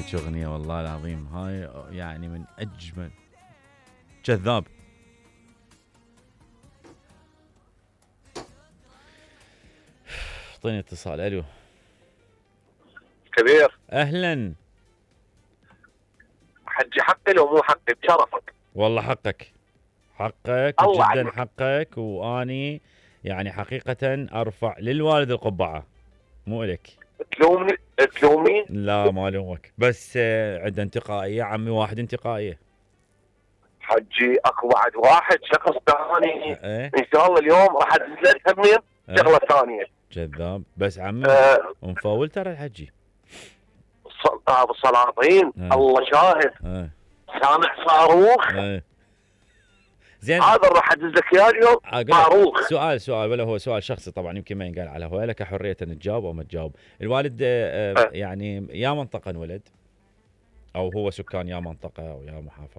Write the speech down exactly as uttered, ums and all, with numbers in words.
فيك اغنيه والله العظيم هاي يعني من اجمل. كذاب. اعطيني اتصال. الو كبير. اهلا حجي حقي لو مو حقي بشرفك. والله حقك حقك الله جدا عنك. حقك، واني يعني حقيقه ارفع للوالد القبعه مو الك. تلومني تلومني؟ لا ما الومك، بس عنده انتقائيه عمي، واحد انتقائيه. حجي اكو بعد واحد شخص ثاني ايه ان شاء الله اليوم راح ادز لك همين شغله ثانيه. كذاب بس عمي أه ومفول ترى الحجي. ابو السلاطين أه. الله شاهد. أه. سامع صاروخ. أه. زين هذا راح ادز لك اياه اليوم صاروخ. سؤال سؤال ولا هو سؤال شخصي طبعا، يمكن ما ينقال على هو، لك حريه ان تجاوب او ما تجاوب. الوالد أه. أه. يعني يا منطقه انولد او هو سكان يا منطقه او يا محافظه؟